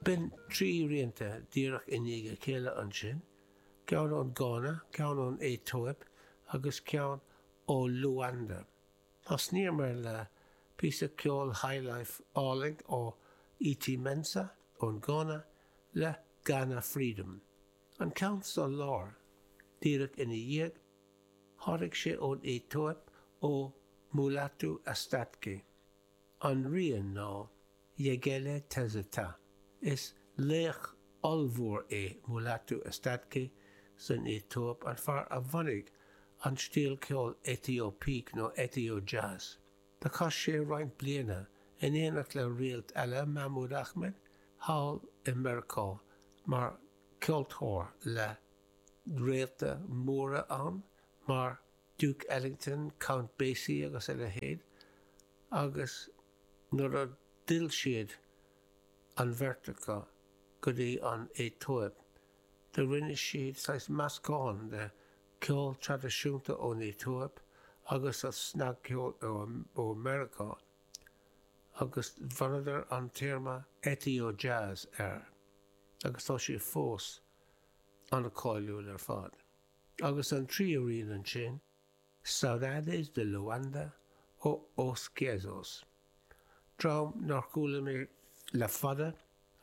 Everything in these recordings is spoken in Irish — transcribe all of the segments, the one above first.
B'in 3 rianta díreach i ndiaidh a chéile ansin, ceann ón Gána, ceann ón Aetóip agus ceann ó Luanda. Thosnaíomar le píosa ceoil highlife álainn ó E.T. Mensah ón Gána le Ghana Freedom. An ceann sa lár, díreach ina dhiaidh, tháinig sé ón Aetóip ó Mulatu Astatke. An rian ná Yegelle Tezeta. Is laoch ollmhór é Mulatu Astatke san Aetóip, an fear a bhunaigh an stíl ceoil Aetóipeach nó Ethio-jazz. Do chaith sé roinnt bliana in éineacht le réalt eile, Mahmoud Ahmed, thall i Meiriceá mar cheoltóir le réalta móra ann mar Duke Ellington, Count Basie agus a leithéid agus nuair a d'fhill siad, an bheirt acu, go dtí an Aetóip, do rinne siad saghas meascán de cheol traidisiúnta ón Aetóip agus an snagcheol ó Meiriceá agus bhronnadar an téarma Ethio-jazz air agus tá sé fós an-cháiliúil ar fad. Agus an tríú rian ansin, Saudades de Luanda ó Os Guizots. Dream nár chuala mé le fada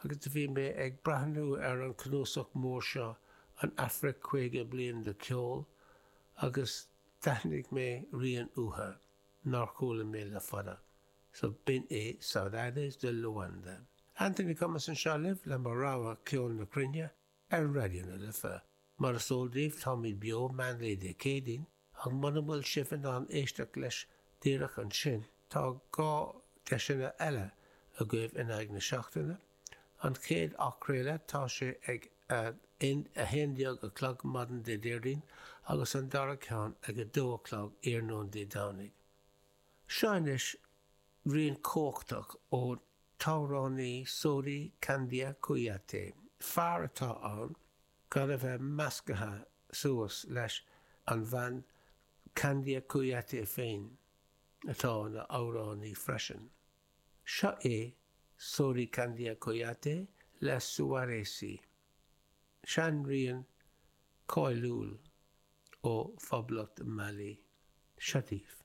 agus do bhí mé ag breathnú ar an cnuasach mór seo An Afraic 50 Bliain de Cheol agus d'aithnigh mé rian uathu nár chuala mé le fada. So b'in é Saudades de Luanda. Anthony Cummins anseo libh le mo rogha ceol na cruinne ar Raidió na Life. Mar is eol daoibh táimid beo meánlae Dé Céadaoin ach muna bhfuil sibh in ann éisteacht leis díreach ansin tá 2 deiseanna eile agaibh in aghaidh na seachtaine. An chéad athchraoladh tá sé ag a 11 a chlog maidin Dé Déardaoin agus an dara ceann ag 2 a chlog iarnóin Dé Domhnaigh. Seo anois rian cumhachtach ón t-amhránaí Sory Kandia Kouyaté. Fear atá ann gan a bheith measctha suas leis an bhean Kandia Kouyaté féin, atá ina amhránaí freisin. Seo é Sory Kandia Kouyaté le Souaré Sy, seanrian cáiliúil ó Phoblacht Mali. Seo daoibh.